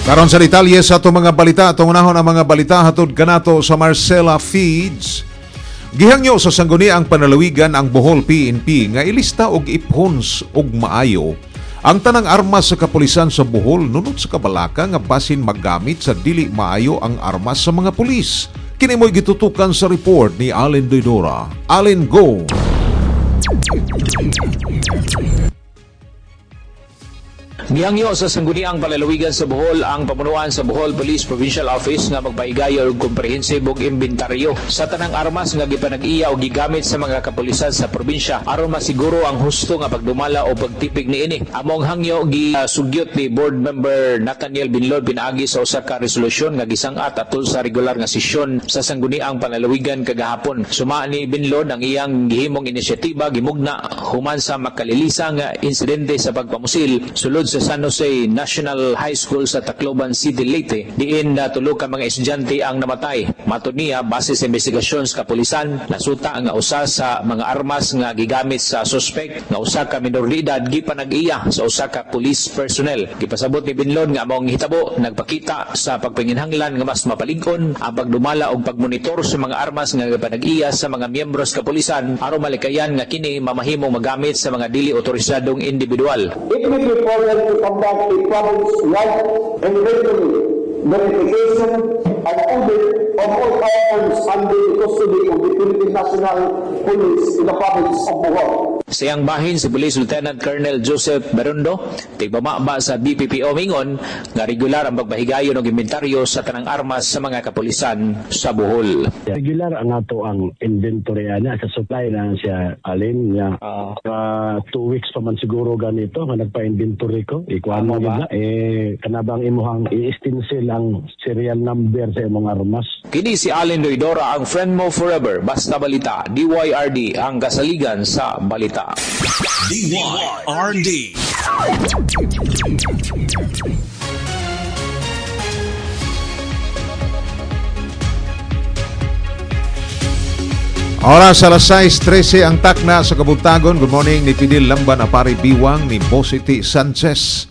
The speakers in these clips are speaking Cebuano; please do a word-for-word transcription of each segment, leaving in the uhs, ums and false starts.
Karon sa detalye sa atong mga balita, atong unahon ang mga balita hatod kanato sa Marcela Feeds. Gihangyo sa Sangguniang Panlalawigan ang Bohol P N P nga ilista og iphons og maayo ang tanang armas sa kapulisan sa Bohol nunot sa kabalaka nga basin maggamit sa dili maayo ang armas sa mga pulis. Kini mo'y gitutukan sa report ni Allen Doidora. Allen, go! Gihangyo sa Sangguniang Panlalawigan sa Bohol ang pamunuan sa Bohol Police Provincial Office nga magpahigayon og komprehensibo og inventaryo sa tanang armas nga gipanag-iya o gigamit sa mga kapulisan sa probinsya aron masiguro ang husto nga pagdumala o pagtipig niini. Among hangyo gisugyot ni Board Member Nathaniel Binlod pinaagi sa usa ka resolusyon nga gisang-at atol sa regular nga sesyon sa Sangguniang Panlalawigan kagahapon. Suma ni Binlod, ang iyang gihimong inisyatiba gimugna human sa makalilisang insidente sa pagpamusil sulod sa San Jose National High School sa Tacloban City, Leyte, diin na tulo ka mga estudyante ang namatay. Matod niya, base sa investigasyon sa kapulisan, nasuta nga usa sa mga armas nga gigamit sa suspect nga usa ka minor de edad gipanag-iya sa usa ka police personnel. Gipasabot ni Binlon nga maong hitabo nagpakita sa pagpanginhanglan nga mas mapalig-on ang pagdumala og pagmonitor sa mga armas nga gipanag-iya sa mga miyembro sa kapulisan aron malikayan nga kini mamahimong magamit sa mga dili otorisadong individual. It will be required to conduct a province-wide inventory, verification, and audit of all firearms under the custody of the Philippine National Police in the province of Bohol. Sa iyang bahin, si Police Lieutenant Colonel Joseph Berundo, tigbamaba sa B P P O, mingon nga regular ang pagpahigayon og inventaryo sa tanang armas sa mga kapulisan sa Bohol. Regular ang ato ang inventory ana sa supply na siya, alin nga uh, two weeks pa man siguro ganito nga nagpa-inventory ko, ikuan mo gid na eh kanabang imuhang i-stencil ang serial number sa imong armas. Kini si Allen Doidora, ang friend mo forever. Basta balita, D Y R D ang kasaligan sa balita. D Y R D. Oras alas sais trese ang takna sa kabuntagon. Good morning ni Fidel Lamban Apari Biwang, ni Bositi Sanchez.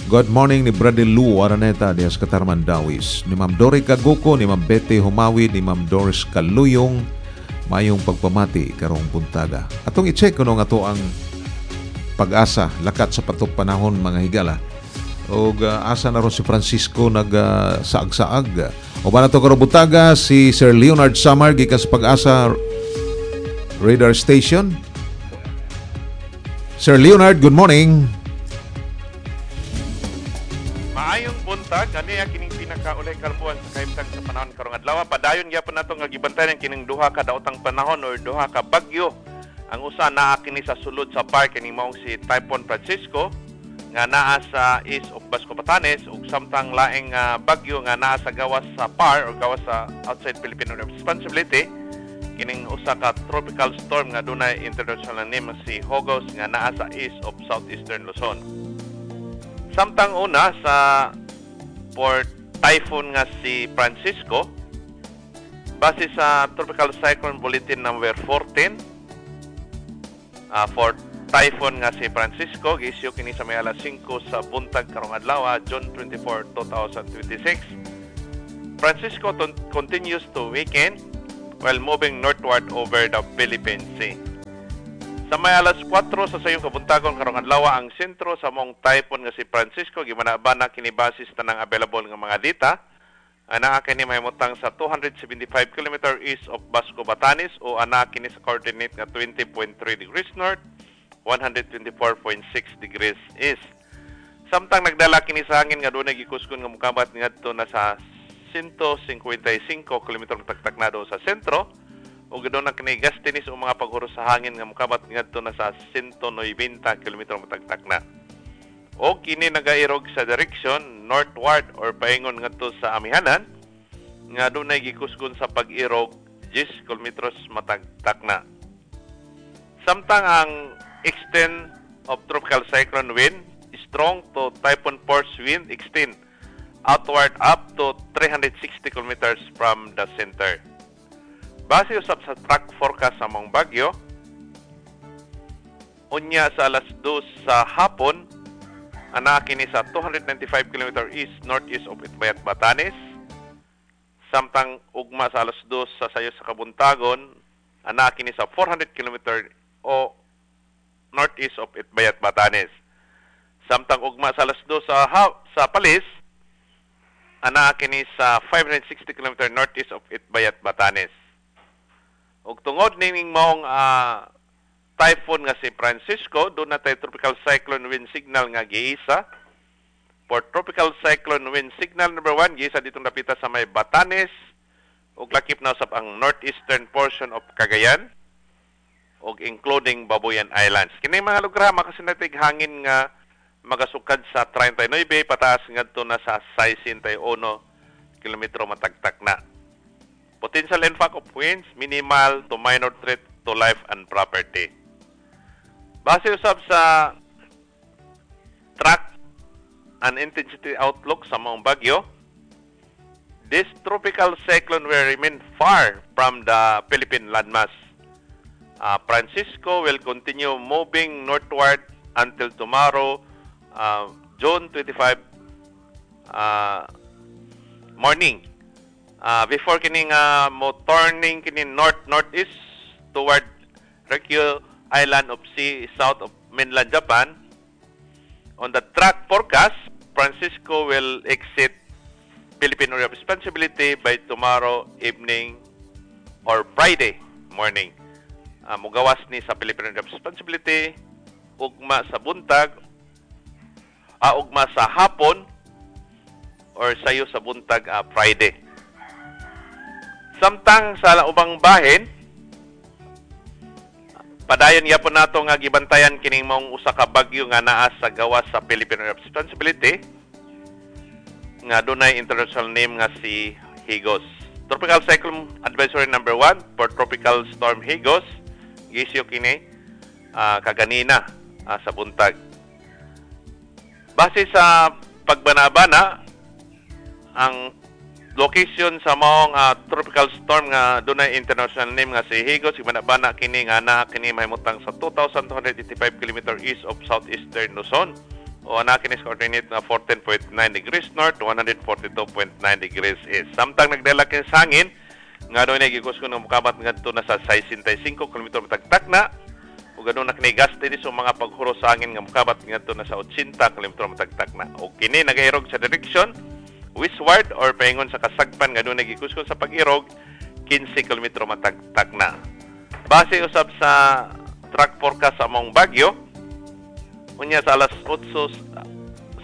Good morning ni Brother Lou Araneta dias Katarman Dawis. Ni Ma'am Dory Kaguko, ni Ma'am Betty Humawi, ni Ma'am Doris Kaluyong. Mayong pagpamati karong buntaga. Atong i-check kuno nga to ang Pag-asa lakat sa patok panahon, mga higala. Og uh, asa na ron si Francisco nag uh, saag-saag. O ba na to karong buntaga si Sir Leonard Samar gikan sa Pag-asa Radar Station. Sir Leonard, good morning. Maayong buntag, ani ang kining pinakaulay kalbuan sa kahimtang sa panahon karong adlaw. Padayon gyapon nato nga gibantayan kining duha ka daotang panahon or duha ka bagyo. Ang usa naa kini sa sulod sa par, kining maong si Typhoon Francisco nga naa sa east of Basco, Batanes, ug samtang laing uh, bagyo nga naa sa gawas sa par or gawas sa outside Philippine responsibility, kining usa ka tropical storm nga dunay international name si Hogos nga naa sa east of southeastern Luzon. Samtang una sa for typhoon nga si Francisco, base sa Tropical Cyclone Bulletin number fourteen uh, for typhoon nga si Francisco, gi-issue kini sa may alas singko sa buntag karong adlaw, June twenty-four, twenty twenty-six. Francisco ton- continues to weaken while moving northward over the Philippine Sea. Sa may alas kwatro sa sayong kabuntagon karong adlaw, ang sentro sa mong typhoon nga si Francisco gibanabana kini basis tanang available nga mga data. Anaa kini mahimutang sa two hundred seventy-five kilometer east of Basco, Batanes o anaa kini sa coordinate nga twenty point three degrees north, one hundred twenty-four point six degrees east. Samtang nagdala kini sa hangin nga dunay gikusgon nga mukabat ngadto na sa one hundred fifty-five kilometer tagtak na sa sentro ug doon na kini gustiness o mga paghuros sa hangin nga mukabat ngadto na sa one hundred ninety kilometer matagtak na. O kini nagairog sa direction northward or paingon ngadto sa amihanan nga dunay gikusgon sa pag-irog ten kilometros matagtak na. Samtang ang extent of tropical cyclone wind, strong to typhoon force wind extend outward up to three hundred sixty kilometers from the center. Base usab sa track forecast sa mong bagyo, unya sa alas dos sa hapon, Ana kini sa two hundred ninety-five kilometer east northeast of Itbayat, Batanes. Samtang ugma sa alas dos sa sayo sa kabuntagon, ana kini sa four hundred kilometer o northeast of Itbayat, Batanes. Samtang ugma sa alas dos sa ha- sa Palis, ana kini sa five hundred sixty kilometer northeast of Itbayat, Batanes. Ug tungod nining maong ah, typhoon nga si Francisco, duna tay tropical cyclone wind signal nga giisa. For tropical cyclone wind signal number one, giisa ditong dapita sa may Batanes ug lakip na usab ang northeastern portion of Cagayan ug including Babuyan Islands. Kini mga lugar makasinati'g hangin nga magasukad sa treinta y nuebe pataas ngadto na sa sesenta y uno kilometro matag takna. Potential impact of winds, minimal to minor threat to life and property. Base usab sa track and intensity outlook sa maong bagyo, this tropical cyclone will remain far from the Philippine landmass. Uh, Francisco will continue moving northward until tomorrow, uh, June twenty-five uh, morning. Uh, before kining uh, mo turning kini north northeast toward Ryukyu Island of Sea south of mainland Japan. On the track forecast, Francisco will exit Philippine Area of Responsibility by tomorrow evening or Friday morning. Uh, mugawas ni sa Philippine Area of Responsibility ugma sa buntag, uh, ugma sa hapon or sayo sa buntag uh, Friday. Samtang sa ubang bahin, padayon gyapon nato nga gibantayan kining maong usa ka bagyo nga naa sa gawas sa Philippine Area of Responsibility nga dunay international name nga si Higos. Tropical Cyclone Advisory number one for Tropical Storm Higos gi-issue kini ah, kaganina ah, sa buntag. Base sa pagbanabana, ang location sa maong ah, tropical storm nga dunay international name nga si Higos, gibanabana kini nga naa kini mahimutang sa two thousand two hundred eighty-five kilometers east of southeastern Luzon o ana kini sa coordinate nga fourteen point nine degrees north, one hundred forty-two point nine degrees east. Samtang nagdala kini sa hangin nga dunay gikusgon nga mokabat ngadto na sa sesenta y singko kilometro matag takna ug aduna kini gusty sa mga paghuros sa hangin nga mokabat ngadto na sa eighty kilometro matag takna. O kini nagairog sa direction westward or paingon sa kasagpan nga dunay gikusgon sa pag-irog kinse kilometro matag takna. Base usab sa track forecast sa maong bagyo, unya sa alas otso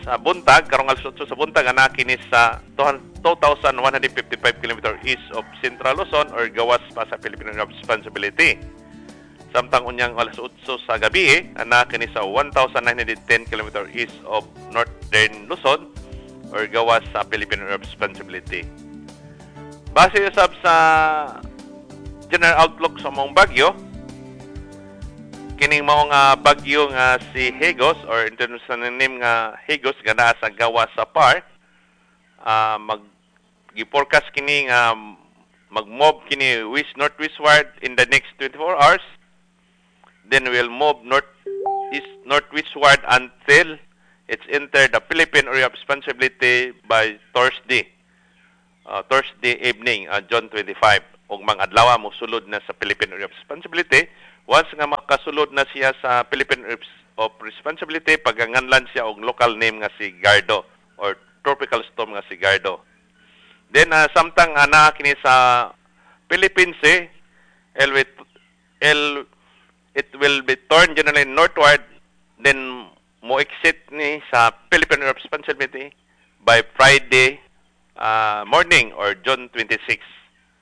sa buntag, karong alas otso sa buntag, ana kini sa two thousand one hundred fifty-five kilometers east of Central Luzon or gawas pa sa Philippine Area of Responsibility. Samtang unyang alas otso sa gabi, ana kini sa one thousand nine hundred ten kilometers east of Northern Luzon or gawas sa Philippine Area of Responsibility. Base usab sa general outlook sa maong bagyo, kining mao nga bagyo nga si Higos or international name nga Higos nga naa sa gawas sa P A R, ah, mag gi-forecast kini nga mag-move kini west northwestward in the next twenty-four hours, then will move north east northwestward until it's entered the Philippine Area of Responsibility by Thursday uh, Thursday evening, uh, June twenty-five. Ug mga adlaw mosulod na sa Philippine Area of Responsibility. Once nga makasulod na siya sa Philippine Area of Responsibility, paganganlan siya og local name nga si Gardo or tropical storm nga si Gardo. Then uh, samtang ana kini sa Philippines eh, L, L, it will be turned generally northward, then mo exit ni sa Philippine Area of Responsibility by Friday uh, morning or June twenty-six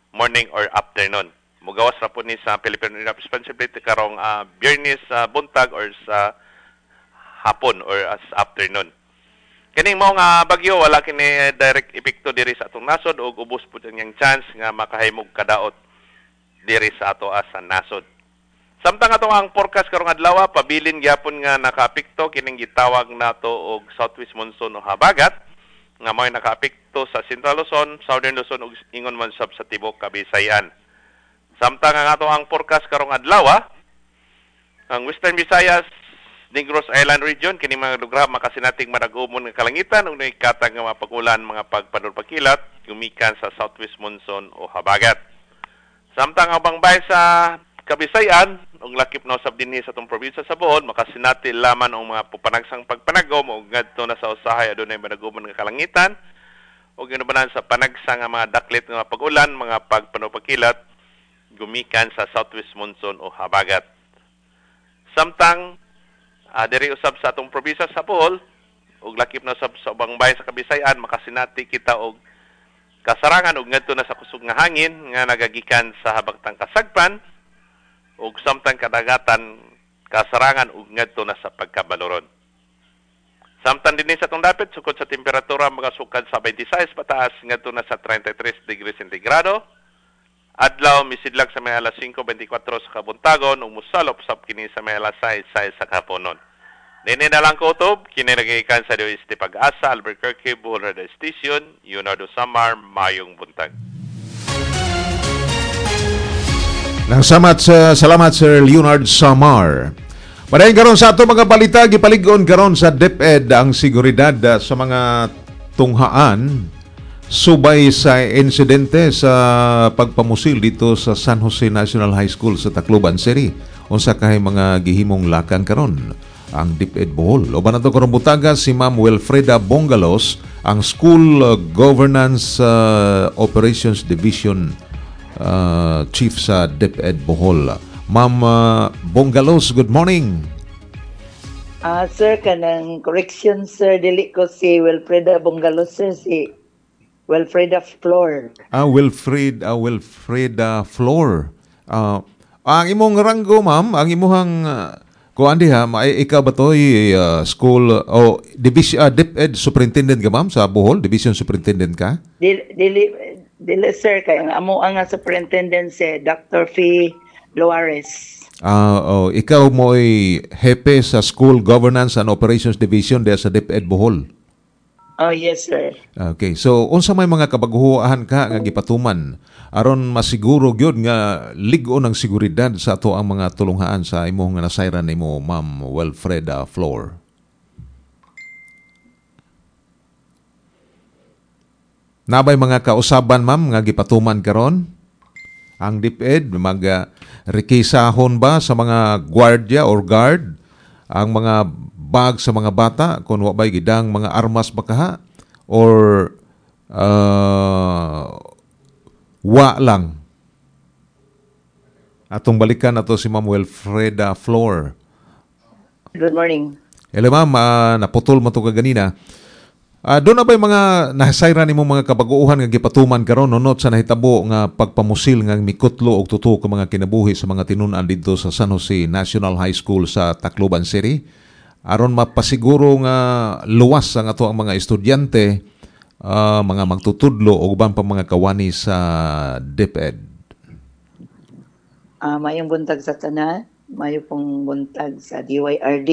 morning or afternoon. Mugawas ra po ni sa Philippine Area of Responsibility karong uh, Biyernes sa buntag or sa hapon or as afternoon. Kining mao nga bagyo, wala kini direct epekto diri sa atong nasod ug ubos pud ang iyang chance nga makahimog kadaot diri sa ato sa nasod. Samtang atong ang forecast karong adlaw, pabilin gyapon nga nakaapekto kining gitawag nato og southwest monsoon o habagat nga mao'y nakaapekto sa Central Luzon, Southern Luzon ug ingon man sab sa tibuok Kabisayan. Samtang ang ato ang forecast karong adlaw, ang Western Visayas Negros Island Region, kini mga lugar makasinating madagumon nga kalangitan ug katag nga mga pag-ulan, mga pagpanulpakilat gumikan sa southwest monsoon o habagat. Samtang ang bangbay sa Kabisayan ug lakip na usab dinhi sa atong probinsya sa Bohol, makasinati laman ang mga pupanagsang pagpanagom ug ngadto na sa usahay adunay madagumon nga kalangitan ug ginubanan sa panagsa nga mga daklit nga mga pag-ulan, mga pagpanulpakilat gumikan sa southwest monsoon o habagat. Samtang uh, diri usab sa atong probinsya sa Bohol ug lakip na usab sa ubang bayan sa Kabisayan, makasinati kita og kasarangan ug ngadto na sa kusog nga hangin nga nagagikan sa habagtang kasagpan ug samtang kadagatan kasarangan ug ngadto na sa pagkabaloron. Samtang dinhi sa atong dapit, sukod sa temperatura magasukad sa twenty-six pataas ngadto na sa thirty-three degrees centigrado. Adlaw misidlag sa may alas singko twenty-four sa kabuntagon ug mosalop sab kini sa may alas sais sa kahaponon. Nini na lang kutob, kini nagikan sa D O S T Pag-asa, Albuquerque, Bohol Radio Station, Leonardo Samar, mayong buntag. Nang samat sa salamat, Sir Leonard Samar. Padayon karon sa ato mga balita, gipalig-on karon sa DepEd ang seguridad ah, sa mga tunghaan subay sa insidente sa pagpamusil dito sa San Jose National High School sa Tacloban City. Unsa kahay mga gihimong lakang karon ang DepEd Bohol? Uban nato karong butaga si Ma'am Wilfreda Bongalos, ang School uh, Governance uh, Operations Division uh, Chief sa DepEd Bohol. Ma'am uh, Bongalos, good morning. Ah, sir, kanang correction, sir, dili ko si Wilfreda Bongalos, sir, si Wilfreda Flor. Ah, Wilfred, ah, Wilfreda Flor. Ah, ang imong ranggo, ma'am, ang imuhang uh, kuan diha, may ikaw ba to uh, school o division uh, DepEd superintendent ka, ma'am, sa Bohol, division superintendent ka? Dili, dili, dili sir, kay ang amo ang superintendent si Doctor Fee Luares. Ah, oh, ikaw mo'y hepe sa School Governance and Operations Division diha sa DepEd Bohol. Oh, yes, sir. Okay, so unsa may mga kabaguhoan ka nga gipatuman aron masiguro gyud nga lig-on ang seguridad sa ato ang mga tulunghaan sa imong nga nasayran nimo, Ma'am Wilfreda Flor? Nabay mga kausaban, ma'am, nga gipatuman karon? Ang DepEd mag uh, rekisahon ba sa mga gwardiya or guard ang mga bag sa mga bata kung wa ba'y gidang mga armas ba kaha or uh, wa lang? Atong balikan nato si Ma'am Wilfreda Flor. Good morning. Hello, ma'am, uh, naputol mo to kaganina. Uh, doon na ba'y mga nasayran nimo mga kabaguhan nga gipatuman karon nunot sa nahitabo nga pagpamusil nga mikutlo og tuto ka mga kinabuhi sa mga tinun-an didto sa San Jose National High School sa Tacloban City aron mapasiguro nga luwas ang ato ang mga estudyante, uh, mga magtutudlo o uban pa mga kawani sa DepEd? Uh, mayong buntag sa tanan, mayo pong buntag sa D Y R D.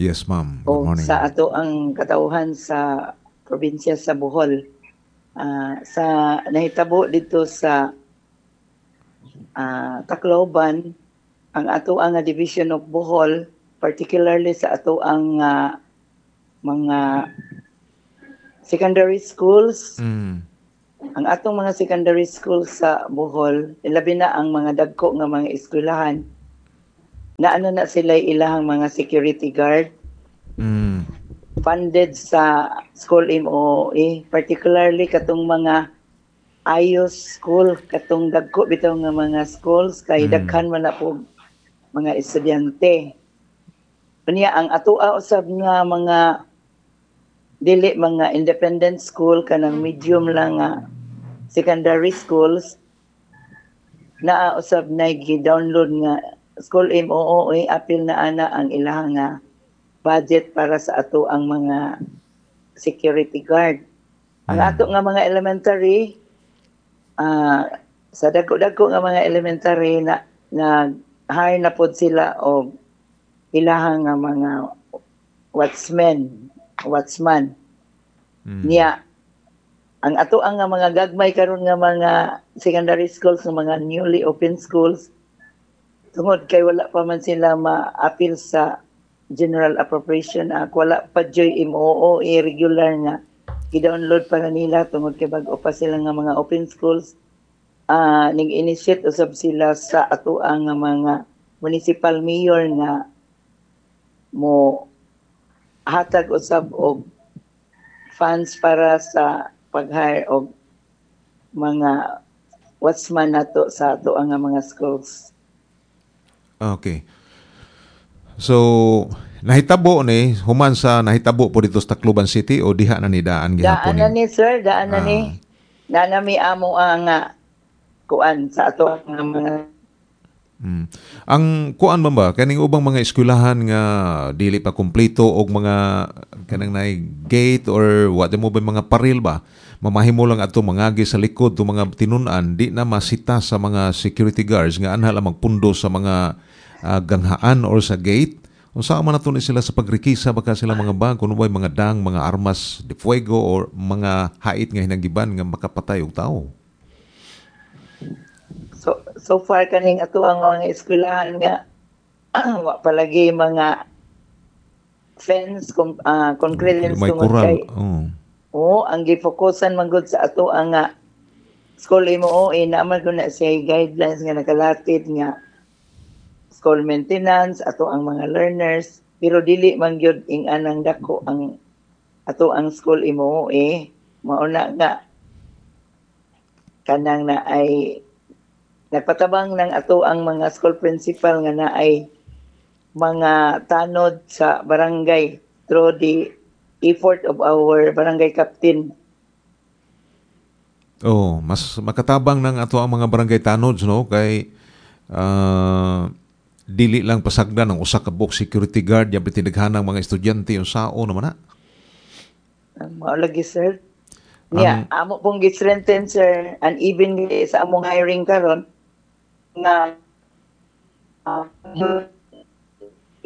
Yes, ma'am. Good O morning. sa ato ang katauhan sa probinsya sa Bohol. Uh, sa nahitabo dito sa uh, Tacloban, ang ato ang Division of Bohol, particularly sa ato ang uh, mga secondary schools. Mm. Ang atong mga secondary schools sa Bohol, labi na ang mga dagko nga mga eskwelahan, na ano na sila ilahang mga security guard. Mm. Funded sa school M O A, particularly katong mga ayos school, katong dagko bitaw nga mga schools kay Mm. daghan man na po mga estudyante. Unya ang atoa usab nga mga dili mga independent school, kanang medium lang nga secondary schools, naa usab na gi-download nga School M O O A, apil na ana ang ilahang nga budget para sa ato ang mga security guard. Ang ato nga mga elementary, uh, sa dagko-dagko nga mga elementary na nag-hire na pod sila og ilahang nga mga watchmen, watchman. Mm. Niya ang ato ang nga mga gagmay karon nga mga secondary schools, nga mga newly open schools, tungod kay wala pa man sila ma-appeal sa General Appropriation Act. Wala pa joy M O O e regular nga gi-download para nila tungod kay bag-o pa sila nga mga open schools. Ah, ning initiate usab sila sa ato ang nga mga municipal mayor nga mo hatag usab og funds para sa pag-hire og mga watchman nato sa ato ang mga schools. Okay. So, nahitabo ni human sa nahitabo po dito sa Tacloban City o diha na ni daan gihapon? Daan na ni, sir, daan na ni. Naa na mi amo ang ah, kuan sa ato ang mga Mm. Ang kuan man ba, kaning ubang mga eskwelahan nga dili pa kumpleto og mga kanang naay gate or what mo ba, mga paril ba, mamahimo lang adto mangagi sa likod to mga tinun-an, di na masita sa mga security guards nga anha lang magpundo sa mga ah, ganghaan or sa gate? Unsa man nato ni sila sa pagrekisa baka sila mga bag kuno ba mga dang mga armas de fuego or mga hait nga hinagiban nga makapatay og tao? so so far kaning ato ang mga eskwelahan nga wa palagi mga fence kung uh, concrete fence may tungod kural kay oh. Oo, ang gifokusan man gud sa ato ang nga school M O O eh, naman ko na siya guidelines nga nakalatid nga school maintenance ato ang mga learners, pero dili man gyud ing anang dako ang ato ang school M O O eh. Mao na nga kanang na ay nagpatabang ng ato ang mga school principal nga na ay mga tanod sa barangay through the effort of our barangay captain. Oh, mas makatabang ng ato ang mga barangay tanods, no, kay ah, dili lang pasagdan ang usa ka buok security guard ya tinaghanang mga estudyante, unsaon naman na. Ang mao lagi, sir. Niya, amo pong gi-strengthen, sir, and even sa among hiring karon nga uh,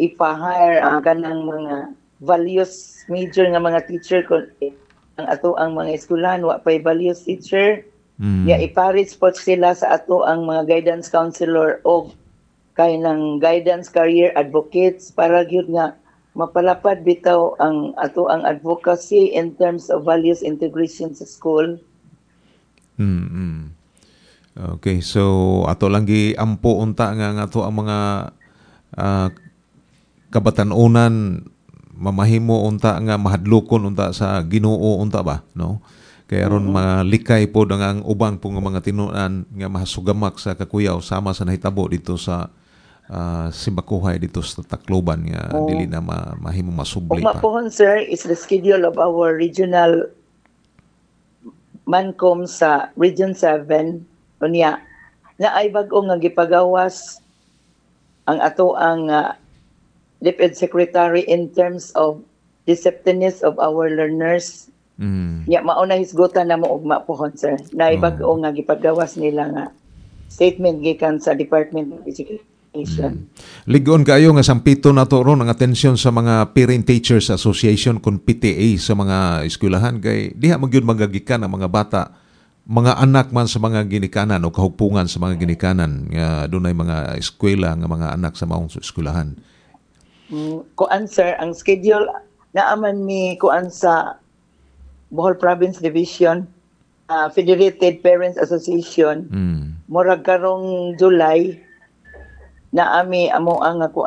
ipa-hire ang kanang mga values major nga mga teacher kon ang ato ang mga eskwelahan wa pay values teacher. Mm. Ya, iparis po sila sa ato ang mga guidance counselor o kay ng guidance career advocates para gyud nga mapalapad bitaw ang ato ang advocacy in terms of values integration sa school. Mm. mm. Okay, so ato lang gi-ampo unta nga nga ato ang mga ah, kabatan-onan mamahimo unta nga mahadlokon unta sa Ginoo unta ba, no? Kay aron malikay pod ang ang ubang po nga mga tinunan nga mahasugamak sa kakuyaw sama sa nahitabo dito sa uh, Simbakuhay dito sa Tacloban nga Oo. dili na ma, mahimo masubli Ugma pa. Pohon, sir, is the schedule of our regional Mancom sa Region seven. Unya na ay bag-o nga gipagawas ang ato ang uh, DepEd Secretary in terms of receptiveness of our learners. Mm. Ya, mao na hisgutan na mo ugma pohon, sir. Na bag-o nga gipagawas nila nga statement gikan sa Department of Education. Ligon kayo nga sampito nato ron ang atensyon sa mga Parent Teachers Association kon P T A sa mga eskwelahan kay diha magyud magagikan ang mga bata, mga anak man sa mga ginikanan o kahugpungan sa mga ginikanan nga dunay mga eskwela nga mga anak sa maong eskwelahan. Mm, kuan sir, ang schedule naaman mi kuan sa Bohol Province Division, uh, Federated Parents Association, Mm. murag karong July na ami amo ang